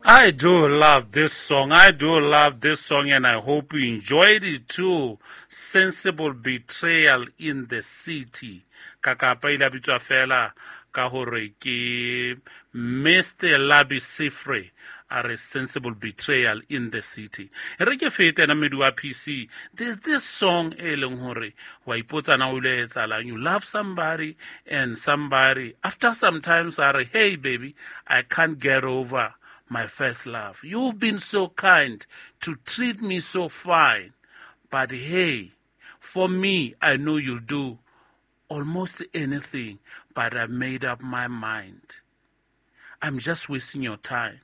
I do love this song. I do love this song, and I hope you enjoyed it too. Sensible Betrayal in the City. Kakapa ile a bitswa fela ka hore ke Mr. Labi Sifre a re Sensible Betrayal in the City. E re ke fete ena mmedi wa PC. There's this song e leng hore wa ipotsa na o ile etsahalang. You love somebody and somebody after some times a re, hey baby, I can't get over my first love. You've been so kind to treat me so fine. But hey, for me, I know you'll do almost anything, but I've made up my mind. I'm just wasting your time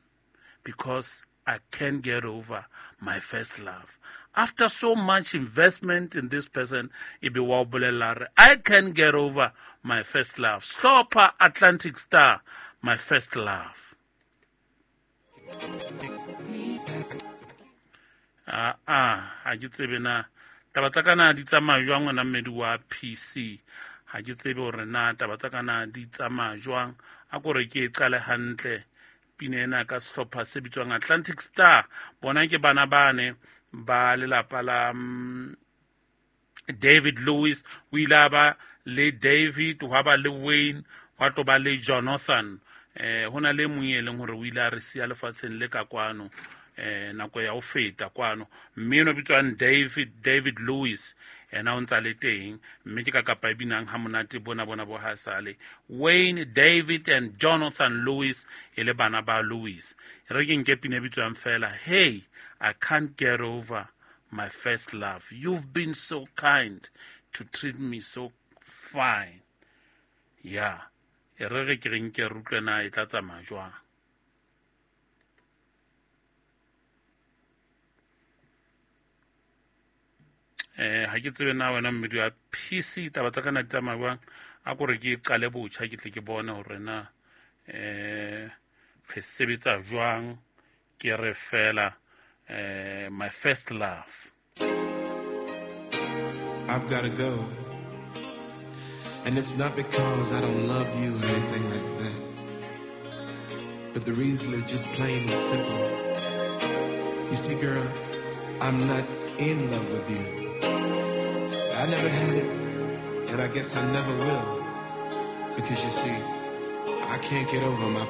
because I can't get over my first love. After so much investment in this person, e be wa o bolella re, I can't get over my first love. Stop her, Atlantic Star, my first love. Ah, ah, ha ke tsebe na taba tsa ka na di tsamaya jwang wena mmedi wa PC. Ha ke tsebe hore na taba tsa ka na di tsamaya jwang. A ko re ke e qale hantle pina ena ka sehlopha se bitswang Atlantic Star. Bona ke bana bane ba lelapa la David Lewis. O ile a ba le David, hwa ba le Wayne, hwa tlo ba le Jonathan. Ho na le mong e leng hore o ile a re siya lefatsheng le ka kwano, nako ya ho feta kwano. Mme enwa bitswang David Lewis, yena o ntsa le teng, mme ke ka kapa e binang ha monate bona bona bo ha sale. Wayne, David and Jonathan Lewis e le bana ba Lewis. E re ke nke pina e bitswang fela, hey, I can't get over my first love. You've been so kind to treat me so fine. Yeah. E re re ke re nke re utlwe na e tla tsamaya jwang. Ha ke tsebe na wena mmedi wa PC taba tsa ka na di tsamaya jwang. A ko re ke qale botjha ke tle ke bone hore na re sebetsa jwang. Ke re fela my first love. I've got to go. And it's not because I don't love you or anything like that. But the reason is just plain and simple. You see, girl, I'm not in love with you. I never had it, and I guess I never will. Because you see, I can't get over my